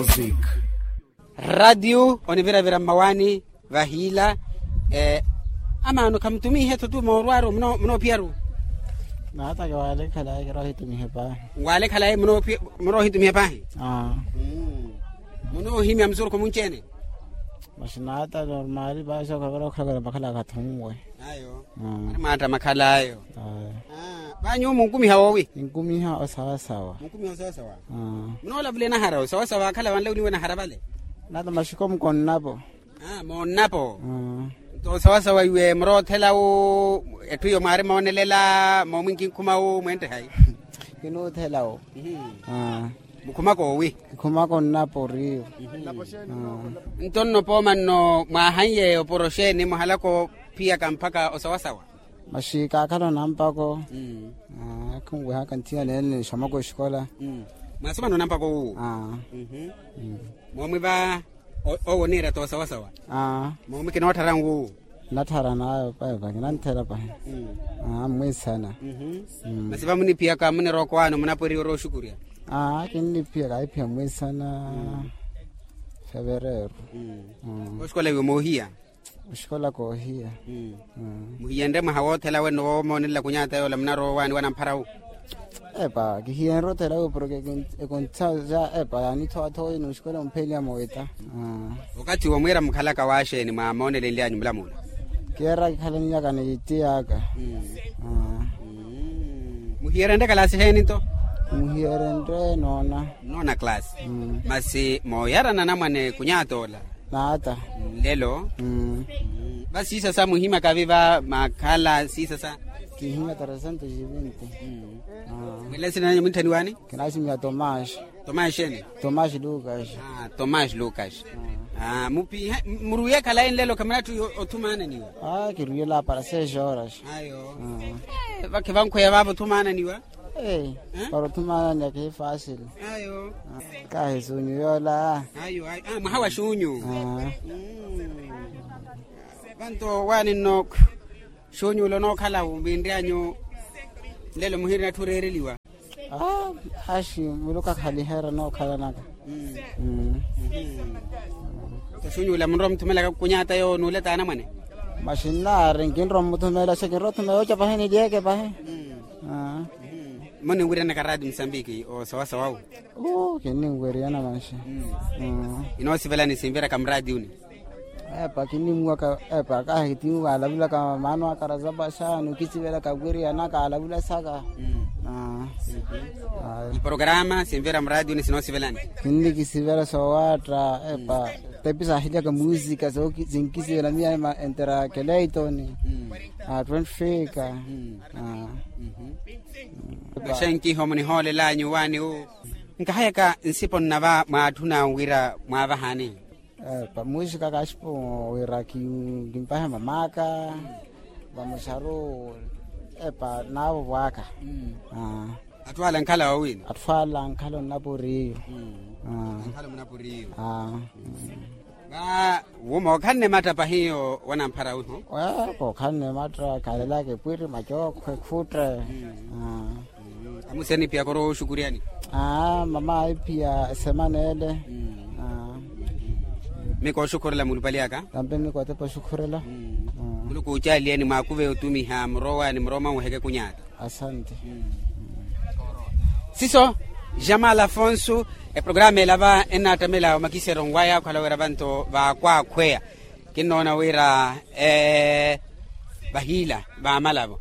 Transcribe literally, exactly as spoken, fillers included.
Music. Radiyo oniviravira mmawaani vahiila. Amaano khamutumihe-tho tu moorwaaru munoopiyaru? Naatake waalekhalaye kiroohitumihe paahi. Waalekhalaye munoohitumihe paahi. Munoohimya musurukhu munci-ene? Maxinaata normaali paasi okhavira okhala khwira makhala akhathunwe. Ayo. Ari mwaatta makhal'ayo. Vaanyu munkumiha woowi? Ninkumiha osawasawa. Munkumiha osawasawa. Munoolavula enahara osawasawa akhala vanle oniwa enahara vale? Nata maxiko mukonnapo. Monnapo. Nto osawasawa iwe muroothela wu etthu iyo mwaari moonelela moomunkhinkhuma wu mwenttehayi? Kinuuthela wu. Mukhumaka owi? Kikhumaka onnapo oriyo. Nto nno pooma nno mwaahanyeya oporo xeeni muhalaka ophiyaka mpakha osawasawa? Maxi kaakhala onampako. Khinwehaka nthiyana ene nixamaka oxikola. Mwaasomana onampako wuwo? Moomwi va owo oniira t'osawasawa? Moomwi kinootthara nwuwo? Natthara n'ayo pahi va kinanthela pahi. Mmwiisana. Masi va muniphiyaka munirookowaani munapweriwa orooxukurya? Kinniphiyaka aiphiya mmwiisana. Fevereeru. Oxikola iwe moohiya? Oxikola koohiya. Muhiyenrye mwaha woothela wenno woomoonelela kunyaata yoola munaroowaani wanampharawu? Epa kihiyenrye othela wu porke ekonthisa ja epa yaanithowa-thowa ino oxikola ompheliya moita. Okathi womwiira mukhalaka waaxeeni mwaamoonelenly'anyu mulamula? Kiira kikhalanyaka ni tiy'aka. Muhiyerenrye kalaasi xeeni nto? Muhiyerenrye noona. Noona kalaasi. Masi mooyarana anamwane kunyaata ola? Naata. Nlelo. Va siisasa muhimyaka vi va makhala siisasa? Kihimya tresentos e vinti. Mwilele nsina nanyu munttaniwaani? Kinaximiya tomaxi. Tomaxi ene? Tomaxi lukaxi. Tomaxi lukaxi. Muruwiye khalayi nlelo khamunatthi othumaananiwa? Kiruwiyela para seis horas. Ayo. Vakhivankhweya vaavo othumaananiwa? Para othumaananiwa kihi fasili. Ayo. Kahi xunyu yoola. Ayo mwaha wa xunyu. Vanto waani nno xunyu ula onookhala wu miinry'anyu? Nlelo muhirinatthi oreereliwa. Axi muluku akhaliheera nookhalanaka. Nto xunyu ula munrowa omuthumelaka kunyaata yoowo nuuleta anamwane? Maxinnaari nkinrowa omuthumeela xa kinrowa othumeela oca pahi nilyeeke pahi. Muninwiryanaka raati musambiki osawasawawu? Kinninweriyana manxi. Inoosivelani sinviraka muraatiyuni? Epa kinnimuwaka epa kahi timu kaalavulaka maano aka razapa xaani okisivelaka wiriyanaka alavula saka. Iporokaraama sinvira muraatiyuni sinoosivelani? Kinnikisivela soowaatta epa tepi saahiliyaka musika sinkisivela miya entera keleitoni. Twenty fika. Paxenkiho munihoolelanyu waani wu? Nkahayaka nsipo nnava mwaatthuna wira mwaavahani? Pamuuxika kaxipo wira kimpahe mamaka vamuxaru epa naavo vwaka. Atthu ala ankhala wawina? Atthu ala ankhala onnapo oriyo. Ankhala onnapo oriyo. Va wuma okhanne matta pahiyo wanamphara wiho? Kookhanne matta khalelaka epwiri macookho ekhutte. Amusi anipiyaka orooxukuryani? Mama aiphiya esemana ele. Mi kooxukhurela mulupali aka. Tampe mi kootepa oxukhurela. Muluku oocaaliye ni mwaakuve otumiha murowaani murowa mwanweheke kunyaata. Asante. Siso jamal afonso. Eprograma ela va ennaattamela omakisero nwaya okhala wira vanto vaakwaakhweya. Kinnoona wira vahiila vaamalavo